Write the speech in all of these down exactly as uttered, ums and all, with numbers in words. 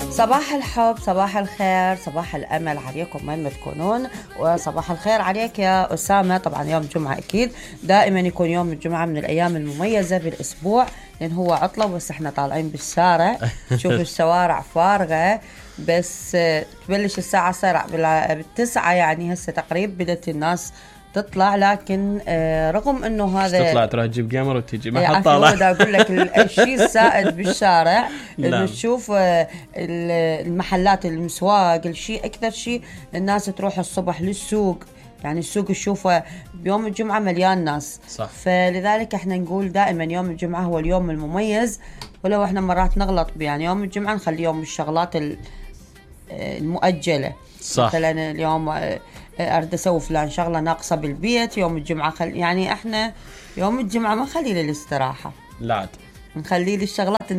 صباح الحب، صباح الخير، صباح الأمل عليكم وين ما تكونون، وصباح الخير عليك يا أسامة. طبعا يوم الجمعة أكيد دائما يكون يوم الجمعة من الأيام المميزة بالأسبوع، لأن هو عطلة بس احنا طالعين بالشارع نشوف الشوارع فارغة، بس تبلش الساعة سرع بالتسعة يعني هسه تقريبا بدأت الناس تطلع، لكن رغم انه هذا تطلع تروح تجيب جيمر وتيجي ما حد طالع. بدي اقول لك الشيء السائد بالشارع انه تشوف المحلات المسواق، الشيء اكثر شيء الناس تروح الصبح للسوق، يعني السوق تشوفه بيوم الجمعة مليان ناس صح. فلذلك احنا نقول دائما يوم الجمعة هو اليوم المميز، ولو احنا مرات نغلط يعني يوم الجمعة نخليه يوم الشغلات المؤجلة. صح. مثلا اليوم أريد أسوي فلان شغلة ناقصة بالبيت يوم الجمعة خل... يعني إحنا يوم الجمعة ما نخليه للاستراحة، لا نخليه للشغلات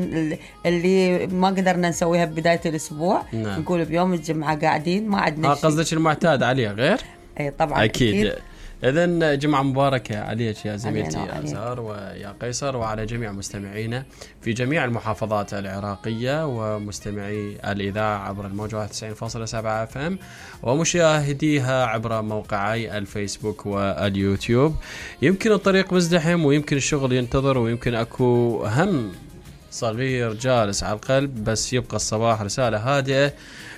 اللي ما قدرنا نسويها ببداية الأسبوع. نعم. نقول بيوم الجمعة قاعدين ما عندنا شيء. قصدك المعتاد عليه غير؟ أي طبعا أكيد, أكيد. إذن جمعة مباركة عليك يا زميلتي يا أزهار ويا قيصر، وعلى جميع مستمعينا في جميع المحافظات العراقية ومستمعي الإذاعة عبر الموجة تسعين فاصلة سبعة اف ام ومشاهديها عبر موقعي الفيسبوك واليوتيوب. يمكن الطريق مزدحم ويمكن الشغل ينتظر ويمكن أكو هم صغير جالس على القلب، بس يبقى الصباح رسالة هادئة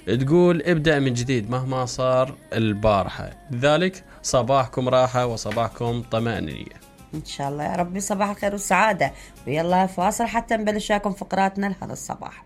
تقول ابدأ من جديد مهما صار البارحة، لذلك صباحكم راحة وصباحكم طمأنينة إن شاء الله يا ربي. صباح الخير والسعادة، ويلا فاصل حتى نبلش لكم فقراتنا لهذا الصباح.